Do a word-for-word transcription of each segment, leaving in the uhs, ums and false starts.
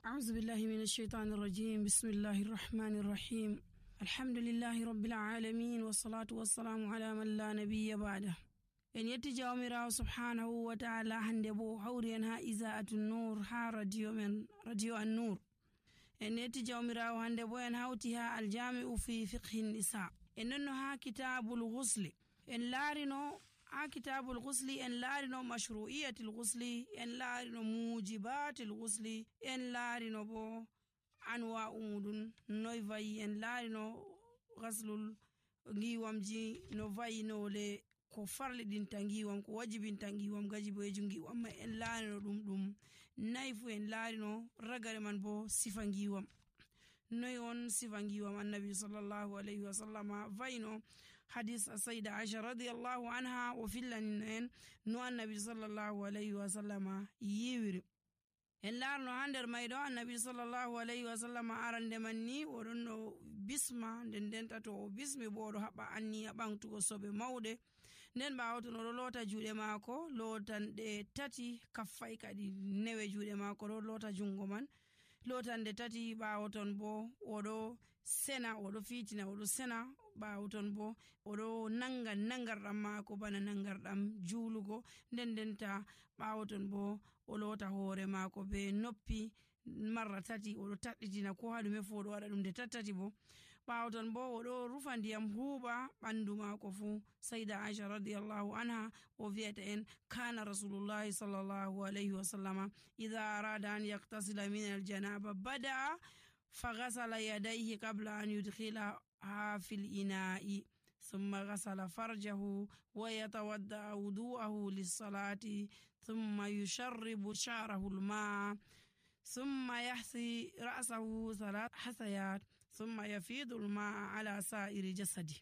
أعوذ بالله من الشيطان الرجيم. بسم الله الرحمن الرحيم. الحمد لله رب العالمين والصلاة والسلام على من لا نبي بعده. en yetti jawmirawo subhanahu wa ta'ala hande bo hawri en ha iza'atu nur ha radio men radio an nur. en yetti jawmirawo hande bo en hawti ha aljami'u fi fiqhi nisa. en nonno ha kitabul ghusli en laarino ha kitabul ghusli en laarino mashru'iyatul ghusli en laarino mujibatul ghusli en laarino bo anwa'u mudun noy vayi en laarino ghaslul ngiwamji no vayi no le ko farlidinta ngiwam ko wajibinta ngiwam gajiboyeju ngiwam mai en laarino dum dum naifu en laarino ragare man bo sifa ngiwam noy on sifa ngiwam annabi sallallahu alaihi wasallam vayno hadis sayda aisha radiyallahu anha o fillanin en no annabi sallallahu alaihi wasallam yiwiri en laarno ha nder maydo annabi sallallahu alaihi wasallam arande manni odon no bisma nden denta to o bismi bo do haba anniya bangtugo sobe maude nden bawto no lota juude maako lotan de tati kaffai kadi newe juude maako do lota jungo man lotande tati bawton bo odo sena odo fitina odo sena bawton bo odo nanga nangardam maako bana nangardam juulugo nden denta bawton bo o lota hoore maako be noppi marra tati odo tadditina ko hadume fodo wada dum de tattati bo bawton bo odo rufa ndiyam huuba bandu maako fu sayda aisha radiyallahu anha o vieta en kana rasulullahi sallallahu alaihi wasallama idha arada an yaktasila min aljanaba bada faghasala yadayhi qabla an yudkhilaha fil ina'i ثم غسل فرجه ويتودع وضوءه للصلاة ثم يشرب شعره الماء ثم يحثي رأسه ثلاث حثيات ثم يفيض الماء على سائر جسده.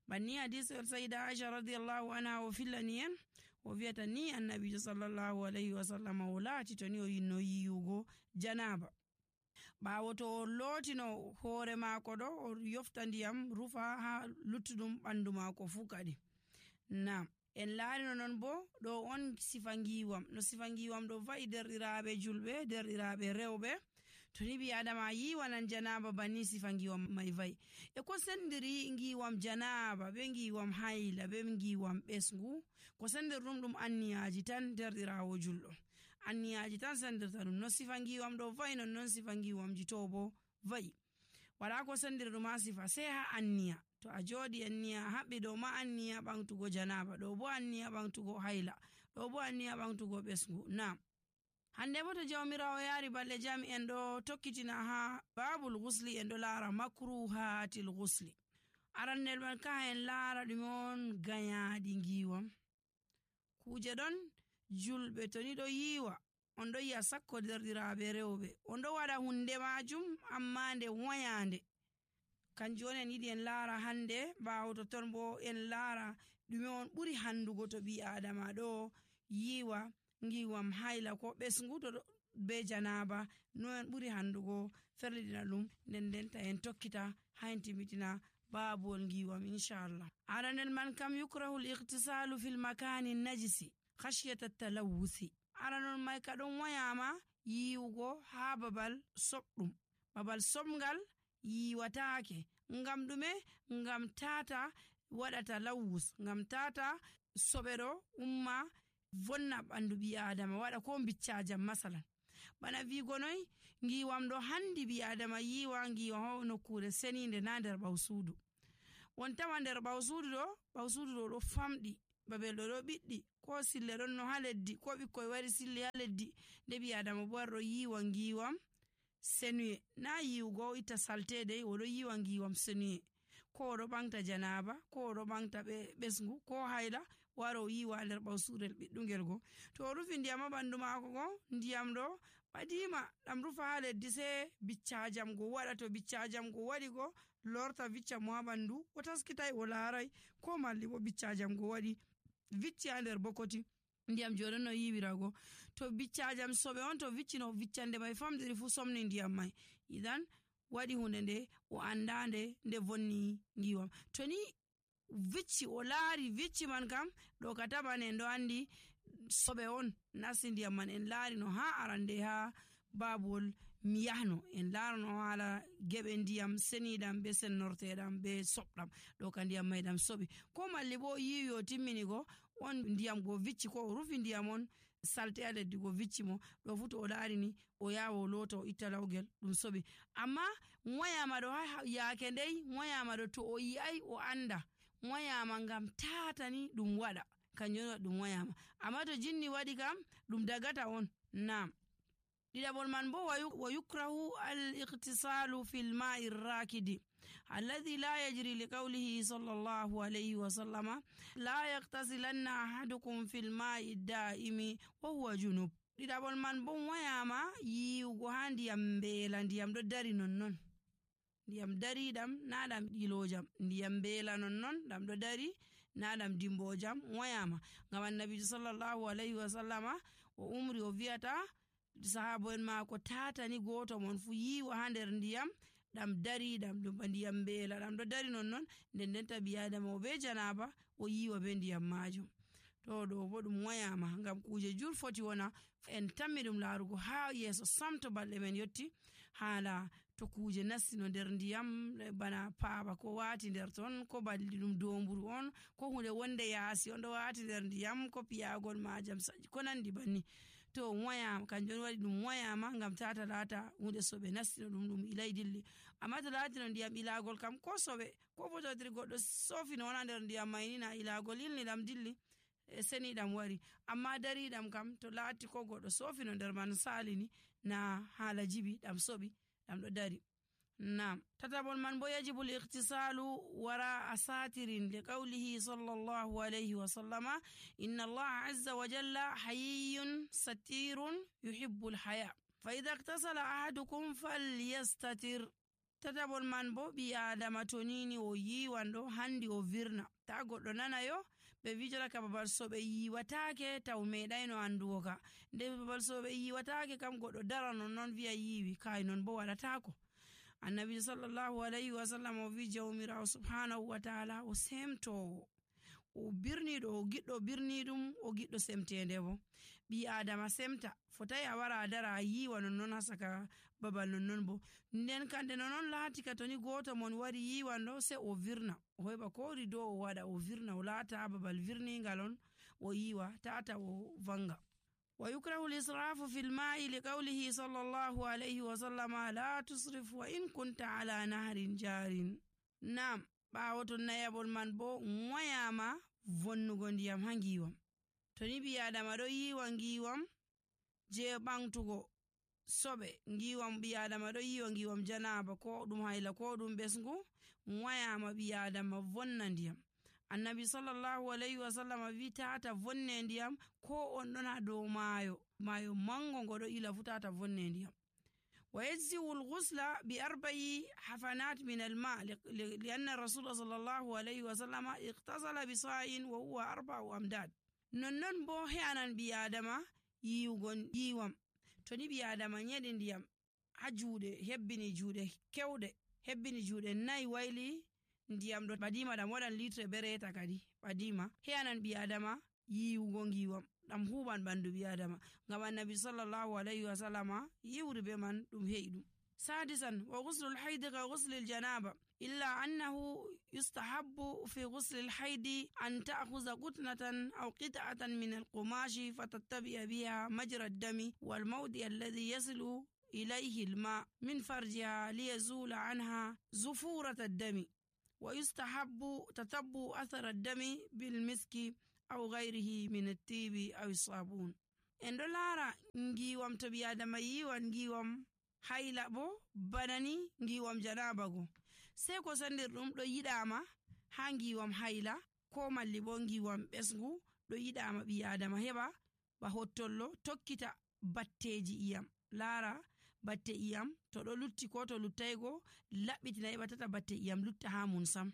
بني حديث السيدة عائشة رضي الله عنها وفلنين وفيتني النبي صلى الله عليه وسلم ولاتي تنيو ينويوغو جنابه bawo to lotino hoore maako do o yofta ndiyam rufa ha luttudum bandu maako fu kadi nam en laarino non bo do on sifa ngiwam no sifa ngiwam do va'i derdiraabe julbe derdiraabe rewbe to ni bi adama yiwanan janaba bani sifa ngiwam mai va'i e ko sendiri ngiwam janaba be ngiwam hayla be ngiwam besngu ko sendir dum dum anniyaji tan derdiraawo juldo anniyaji tan sendirta dum no sifa ngiwam do va'i non non sifa ngiwam jito bo va'i wala ko sendir dum ha sifa sai ha anniya to a jodi anniya habbi do ma anniya bangtugo janaba do bo anniya bangtugo hayla do bo anniya bangtugo besngu na hande bo to jawmirawo yaari balle jami en do tokkitina ha babul ghusli en do laara makruhatil ghusli arandel man ka en laara dum on ganyaadi ngiwam kuje don julbe to ni do yiwa on do yi'a sakko derdiraabe rewbe on do wada hunde majum amma nde wayande kanjum on en yidi en laara hande bawto ton bo en laara dume on buri handugo to bi adama do yiwa ngiwam hayla ko besngu to be janaba no en buri handugo ferlidina dum nden denta en tokkita hayntimitina babol ngiwam inshallah. aranel man kam yukrahu al-ightisalu fil makani najisi khashyata at-talawuthi aranon may kadon wayama yiwugo ha babal sobdum babal somgal yiwataake ngam dume ngam tata wadata lawus ngam tata sobero umma vonna bandu bi adama wada ko biccajam masalan bana vi gonoy ngiwam do handi bi adama yiwa ngiwa hono kure seninde na der bawsudu won tawa der bawsudu do bawsudu do do famdi babel do do biddi ko sille don no haleddi ko bikkoy wari sille haleddi de bi adama borro yiwa ngiwam senuye na yiwgo ita saltede o do yiwa ngiwam senuye ko do bangta janaba ko do bangta be besngu ko hayla waro yiwa nder bawsurel biddungel go to rufi ndiyam bandu maako go ndiyam do badima dam rufa haleddi se biccajam go wada to biccajam go wadi go lorta vicca mo bandu o taskitai o laarai ko malli bo biccajam go wadi vicci nder bokoti ndiyam jodono yiwirago to biccajam sobe on to viccino viccande mai famdiri fu somni ndiyam mai idan wadi hunde nde o andande nde vonni ngiwam to ni vicci o laari vicci man kam do kataba ne ndo andi sobe on nasi ndiyam man en laari no ha arande ha babuwol mi yahno en laarano haala geɓe ndiyam seniɗam be sennorteɗam be soɓɗam ɗo ka ndiyam mayɗam soɓi ko malli bo yiwi o timmini go on ndiyam go vicci ko o rufi ndiyam on salte a leddi go vicci mo ɗo fu to o laarini o yawa o lota o itta lawgel ɗum soɓi amma moyama ɗo yaake ndey moyama ɗo to o yi'ai o anda moyama ngam tatani ɗum waɗa kanjum waɗi ɗum moyama amma to jinni waɗi kam ɗum dagata on. Nam ɗiɗaɓol man bo wa yukrahu al iqtisalu fil ma'i rakidi alladhi la yajri li qawlihi sallallahu alayhi wa sallama la yaqtasilanna ahadukum fil ma'i da'imi wa huwa junub. ɗiɗaɓol man bo moyama yiwugo ha ndiyam mbeela ndiyam ɗo dari nonnon ndiyam dariɗam na ɗam ɗilojam ndiyam mbeela nonnon ɗam ɗo dari na ɗam dimbojam moyama ngam annabijo sallallahu alayhi wa sallama o umri o vi'ata sahabo en maako tatani goto mon fu yiwa ha nder ndiyam ɗam dari ɗam ɗum ndiyam mbeela ɗam ɗo dari nonnon nden nden tabi adama o be janaba o yiwa be ndiyam majum to ɗo bo ɗum moyama ngam kuje jur foti wona en tammi ɗum laarugo ha yeeso sam to balɗe men yotti haala to kuje nassino nder ndiyam bana paaba ko wati nder ton ko balli ɗum domburu on ko hunde wonde yaasi on ɗo wati nder ndiyam ko piyagol majam ko nandi banni to moyama kanjum waɗi ɗum moyama ngam tata laata hunde soɓe nassino ɗum ɗum ilay dilli amma to laatino ndiyam ilagol kam ko soɓe ko fototiri goɗɗo sofino wona nder ndiyam mayni na ilagol yilni ɗam dilli e seniɗam wari amma dariɗam kam to laati ko goɗɗo sofino nder man salini na haala jibi ɗam soɓi ɗam ɗo dari. Nam tataɓol man bo yajibu l-iqtisalu wara asatirin li qawlihi sallallahu alayhi wa sallama inna allaha azza wa jalla hayyun satirun yuhibbul haya fa idha iqtasala ahadukum falyastatir. tataɓol man bo ɓi adama to nini o yiwan ɗo handi o virna ta goɗɗo nanayo ɓe vijora ka babal soɓe yiwatake taw meɗayno andugo ka nde babal soɓe yiwatake kam goɗɗo dara non non viya yiwi kai non bo waɗatako. annabi sallallahu alayhi wa sallam o vi jawmirawo subhanahu wa ta'ala o semtowo o birniɗo o giɗɗo birniɗum o giɗɗo semtende bo ɓi adama semta fotai a wara a dara a yiwa nonnon ha saka babal nonnon bo nden kande nonnon laati ka toni goto mon wari yiwan ɗo se o virna o heɓa ko rido o waɗa o virna o laata ha babal virningal on o yiwa tata o vanga. ويكره الإسراف في الماء لقوله صلى الله عليه وسلم لا تصرف وإن كنت على نهر جار. نعم ɓawoto nayabol man bo moyama vonnugo ndiyam ha ngiwam to ni ɓi adama ɗo yiwa ngiwam je ɓantugo soɓe ngiwam ɓi adama ɗo yiwa ngiwam janaba ko ɗum hayla ko ɗum ɓesgu moyama ɓi adama vonna ndiyam. annabi sallallahu alayhi wa sallam wi tata vonne ndiyam ko on ɗon ha dow maayo maayo mango ngo ɗo ila fu tata vonne ndiyam. wa yajzi'u al-ghusla bi arba'i hafanat min al-ma' li anna rasul sallallahu alayhi wa sallam iqtasala bi sa'in wa huwa arba'u amdad. nonnon bo he'anan ɓi adama yiwugo yiwam to ni ɓi adama nyeɗi ndiyam ha juuɗe hebbini juuɗe kewɗe hebbini juuɗe nayi wayli ndiyam ɗo ɓadima ɗam waɗan litre bereta kadi ɓadima he'anan ɓi adama yiwugo ngiwam ɗam huɓan ɓandu ɓi adama ngam annabi sallallahu alayhi wa sallama yiwri be man ɗum he'i ɗum. sadisan wa ghuslul haidi ka ghuslil janaba illa annahu yustahabbu fi ghuslil haidi an ta'khudha qutnatan aw qit'atan min al-qumashi fatattabi'a biha majra ad-dami wal mawdi alladhi yasilu ilayhi al-ma' min farjiha liyazula anha zufurata ad-dami ويستحب تتبع أثر الدم بالمسك أو غيره من الطيب أو الصابون. en ɗo laara ngiwam to ɓi adama yiwan ngiwam hayla bo banani ngiwam janaba go sei ko sandir ɗum ɗo yiɗama ha ngiwam hayla ko malli bo ngiwam ɓesgu ɗo yiɗama ɓi adama heɓa ba hottollo tokkita batteji iyam laara batte iyam to ɗo lutti ko to luttaygo laɓɓitina heɓa tata batte iyam lutta ha mun sam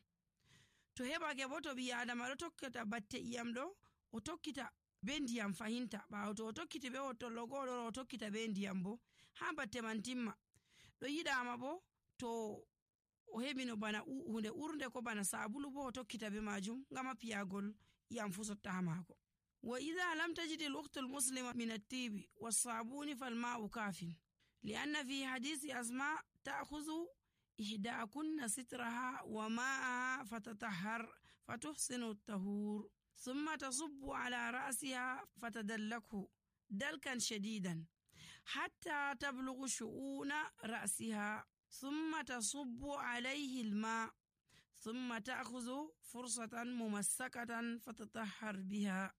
to heɓake bo to ɓi adama ɗo tokkita batte iyam ɗo o tokkita be ndiyam fahinta ɓawo to o tokkiti be hottollo goɗo o tokkita be ndiyam bo ha batte man timma ɗo yiɗama bo to o heɓino bana hunde urde ko bana sabulu bo o tokkita be majum ngama piyagol iyam fu sotta ha mako. wa idha lam tajidi al-ukhtu al-muslima min at-tibi was-sabuni fal-ma'u kafin. li'anna fi hadisi asma ta'khuzu ihdakunna sitraha wa ma'aha fatatahhar fatuhsinu at-tahur thumma tasubbu ala ra'siha fatadallakhu dalkan shadidan hatta tablughu shu'una ra'siha thumma tasubbu alayhi al-ma' thumma ta'khuzu fursatan mumassakatan fatatahhar biha.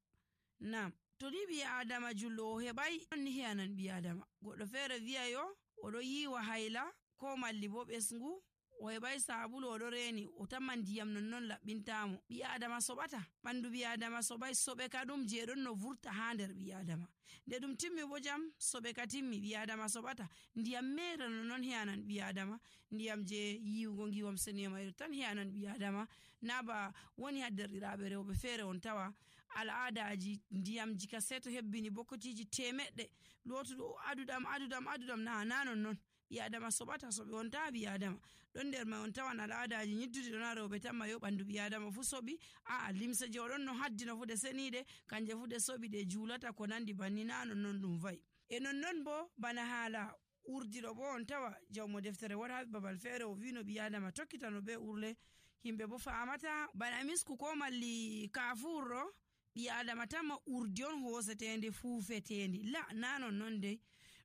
Nam to ni bi adama jullo heɓai ni hiyanan bi adama goɗɗo feere wi'a yo oɗo yiwa hayla ko malli bo ɓesngu o heɓai sabulu oɗo reni o tamma ndiyam nonnon laɓɓintamo. Bi adama soɓata, ɓandu bi adama soɓai, soɓe ka ɗum je ɗon no vurta ha nder bi adama. Nde ɗum timmi bo jam soɓe ka timmi, bi adama soɓata. Ndiyam mere nonnon hiyanan bi adama, ndiyam je yiwugo ngiwam seniyamairu tan hiyanan bi adama. Na ba woni ha derɗiraɓe rewɓe feere on tawa al'adaji ndiyamji ka sei to hebbini bokotiji temeɗɗe lotuɗo aduɗam aduɗam aduɗam na na nonnon bi adama soɓata. soɓe on tawa bi adama ɗon nder mai on tawan al'adaji nyidduɗi ɗon ha rewɓe tan mayo ɓandu bi adama fu soɓi. A'a limse je oɗon no haddino fu ɗe seniɗe kanje fu ɗe soɓi ɗe julata ko nandi banni na nonnon ɗum va'i. E nonnon bo bana hala urdiɗo bo on tawa jawmo deftere wara babal feere o wino bi adama tokkitano be urle himɓe bo famata bana misku ko malli kafurɗo bi adama tamma urdi on hosetendi fufetendi la na nonnon dei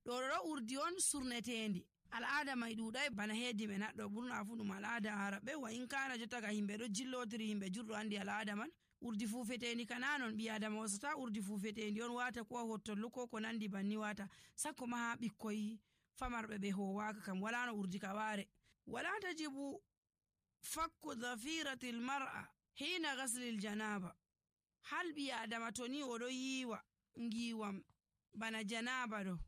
ɗo ɗo urdi on surnetendi. al'ada mai ɗuɗai bana hedi men haɗɗo ɓurna fu ɗum al'ada araɓe wa in kana jotta ga himɓe ɗo jillotiri himɓe jurɗo andi al'ada man urdi fufetendi kana non ɓi adama wasata urdi fufetendi on wata ko hottollu ko ko nandi banni wata sakko ma ha ɓikkoy famarɓe ɓe howaka kam wala no urdi ka ware. wala tajibu fakku dhafirati l-mar'a hina ghasli l-janaba. hal ɓi adama to ni oɗo yiwa ngiwam bana janaba ɗo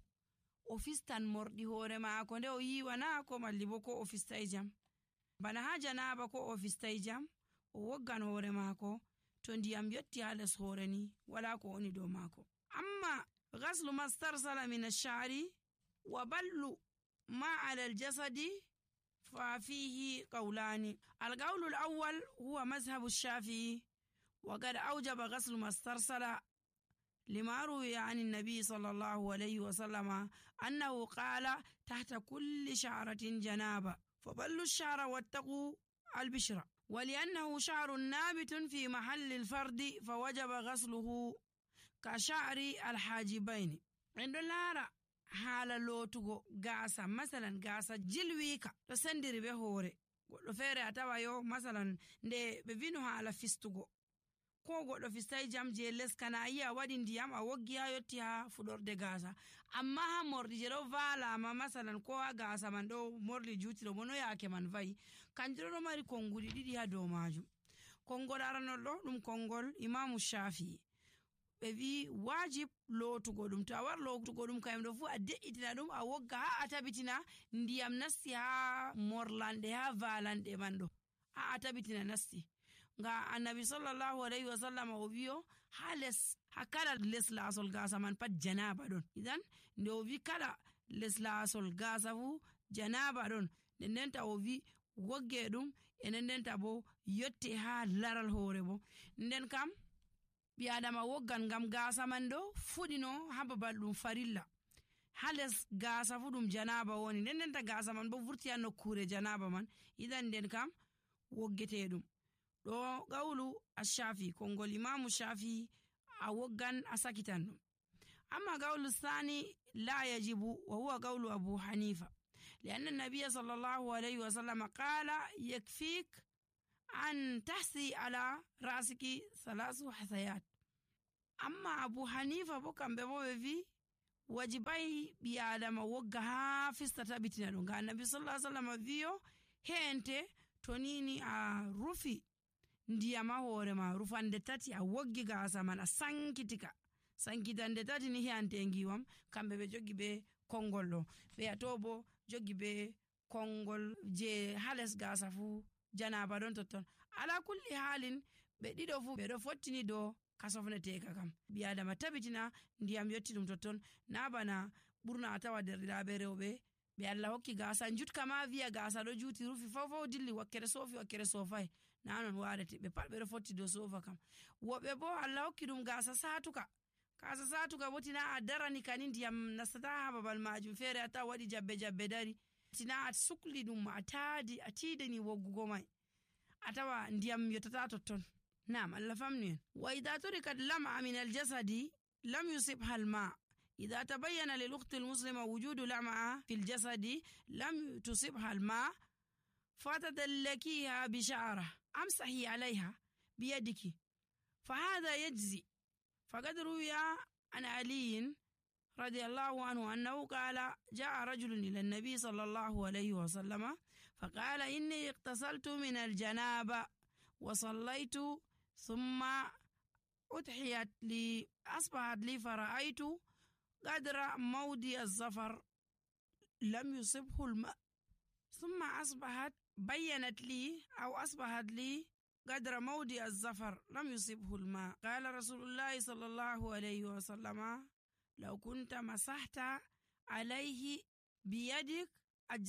o fistan morɗi hoore maako nde o yiwana ko malli bo ko o fistai jam. Bana ha janaba ko o fistai jam o woggan hoore maako to ndiyam yotti ha les hoore ni wala ko woni dow maako. Amma ghaslu mastarsala min ash-sha'ri wa ballu ma ala al-jasadi fa fihi qawlani. al-qawlu al-awwal huwa mazhabu ash-shafi'i wa qad awjaba ghaslu mastarsala لما روي عن النبي صلى الله عليه وسلم أنه قال تحت كل شعرة جنابة فبلوا الشعر واتقوا البشرة ولأنه شعر نابت في محل الفرد فوجب غسله كشعر الحاجبين. عند لارا حال لوتو غاسا مثلا غاسا جلويكا تسندري بهوري لفيري أتوايو مثلا نده بفينو حال فستوغو ko goɗɗo fistai jam je les kana yi a waɗi ndiyam a woggi ha yotti ha fuɗorde gasa amma ha morɗi je ɗo valama masalan ko ha gasa man ɗo morɗi jutiro bo no yake man va'i kanjum ɗo mari konguɗi ɗiɗi ha dow majum. Kongol aranol ɗo ɗum kongol imamu Shafi'i ɓe wi wajib lotugo ɗum, to a war lotugo ɗum kayum ɗo fu a de'itina ɗum a wogga ha a tabitina ndiyam nasti ha morlanɗe ha valanɗe man ɗo ha a tabitina nasti. Nga annabi sallallahu alaihi wasallam o wiyo ha les ha kala les lasol gasa man pat janaba ɗon. Idan nde o wi kala les lasol gasa fu janaba ɗon nden ndenta o wi wogge ɗum e nden ndenta bo yotte ha laral hoore bo nden kam ɓi adama woggan ngam gasa man ɗo fuɗino ha babal ɗum farilla ha les gasa fu ɗum janaba woni nden ndenta gasa man bo vurti ha nokkure janaba man. Idan nden kam woggete ɗum ɗo gawlu ash-Shafi kongol imamu Shafi a woggan a sakitan ɗum. Amma gawlu sani la yajibu wa huwa gawlu Abu Hanifa lianna an-nabiy sallallahu alayhi wa sallam qala yakfik an tahsi ala rasiki thalasu hasayat. Amma Abu Hanifa bo kamɓe bo ɓe wi wajibai ɓi adama wogga ha fista tabitina ɗum ga annabi sallallahu alayhi wa sallam wiyo he'ente to nini a rufi ndiyam ha hoore ma rufande tati a woggi gasa man a sankitika sankitande tati ni hiyante ngiwam kamɓe ɓe jogi be kongol ɗo ɓe ato bo jogi be kongol je hales gasa fu janaba ɗon totton. Ala kulli halin ɓe ɗiɗo fu ɓe ɗo fottini do kasofneteka kam ɓi adama tabitina ndiyam yotti ɗum totton na bana ɓurna a tawa derɗiraɓe rewɓe ɓe Allah hokki gasa jutka ma wiya gasa ɗo juti rufi fawfaw dilli wakkere sofi wakkere sofai na non warete ɓe pat ɓe ɗo fotti dow sofa kam. Woɓɓe bo Allah hokki ɗum gasa satuka kasa satuga bo tina a darani kani ndiyam nastata ha babal majum, feere a tawa waɗi jabbe jabbe dari, tina a sukli ɗum a taadi a tiidani woggugo mai a tawa ndiyam yottata totton. Naam, Allah famnu en. Wa idha turikat lam'a min al-jasadi lam yusibha al-ma. إذا تبين للأخت المسلمة وجود لمعة في الجسد لم تصبها الماء فتدلكيها بشعرة أمسحي عليها بيدك فهذا يجزي. فقد روي عن علي رضي الله عنه أنه قال جاء رجل إلى النبي صلى الله عليه وسلم فقال إني اغتسلت من الجنابة وصليت ثم أضحيت لي أصبحت لي فرأيت قدر مودي الظفر لم يصبه الماء ثم أصبحت بينت لي أو أصبحت لي قدر مودي الظفر لم يصبه الماء. قال رسول الله صلى الله عليه وسلم لو كنت مسحت عليه بيدك أجزاء